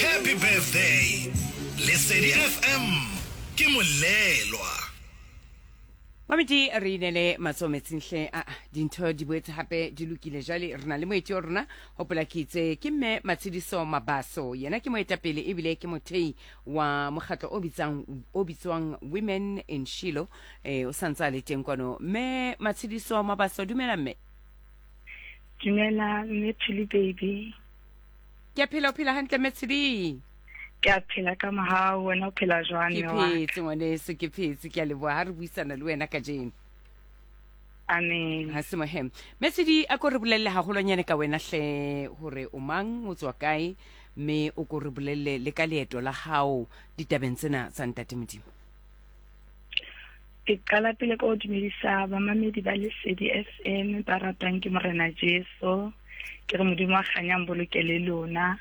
Happy birthday Lesedi FM ke molelwa. Mamedi re inele matsoho metsing hle a dintho di boetse hape di lokile jwale re na le moeti wa rona hopola ke itse ke mme Matshediso Mabaso yena ke moetapele ebile ke mothei wa mokgatlo o bitsang o bitswang Women in Shiloh eh o santse a le teng kwano mme Matshediso Mabaso dumela mme. Dumela mme Phili baby. Ke a phela o phela hantle mme Tshedi. Ke a phela ka mohau wena o phela jwang Ke phetse ngwaneso ke phetse ke a leboha ha re buisana le wena kajeno. Amen. Ha se mohe. Mme Tshedi a ko re bolelle haholwanyane ka wena hle hore o mang o tswa kae mme o ko re bolelle le ka leeto la hao ditabeng tsena tsa Ntate Modimo. Ke qala pele ka ho dumedisa bamamedi ba Lesedi FM ba ratang ke Morena Jesu. Ke re Modimo wa kganyang boloke le lona.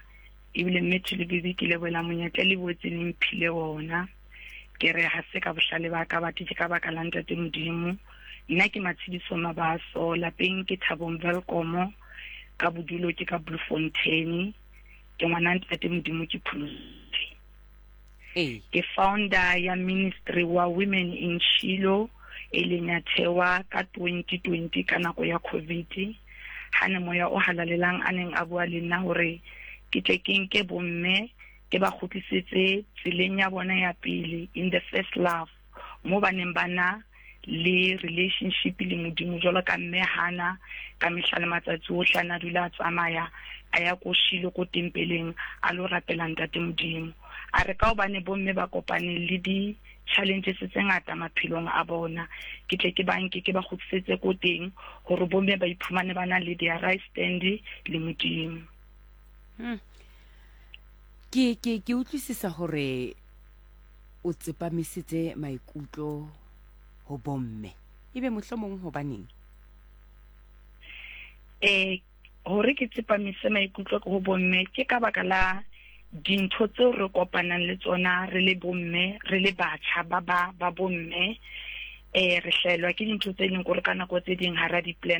Ebile mme Thuli Bibi ke lebohela monyetla le boetse le mphile ona. Ke re ha se ka bohlale ba ka batho ke ka baka la Ntate Modimo. Nna ke Matshidiso Mabaso, lapeng ke Thabong Welkomo, ka bodulo ke ka Bloemfontein. Ke ngwana Ntate Modimo ke pholositse. Ee. Ke founder ya ministry wa Women in Shiloh e leng ya thewa ka 2020 ka nako ya Covid ha ne moya o halalelang a neng a bua le nna hore ke tle ke nke bomme ke ba kgutlisetse tseleng ya bona ya pele in the first love mo ba neng ba na le relationship le Modimo jwalo ka mme Hana ka mehla le matsatsi ohle a na dula a tsamaya a ya ko Shilo ko tempeleng a lo rapela ntate Modimo. A re ka hobane bomme ba kopane le di challenges tse ngata maphelong a bona ke tle ke ba nke ke ba kgutlisetse ko teng hore bomme ba iphumane ba na le their right stand le Modimo. Ke ke ke utlwisisa hore o tsepamisitse maikutlo ho bomme ebe mohlomong hobaneng? Eh, hore ke tsepamise maikutlo ho bomme ke ka baka la dintho tseo re kopanang le tsona re le bomme, re le batjha ba ba ba bomme. Eh, re hlaelwa ke dintho tse leng gore ka nako tse ding ha ra di-plana.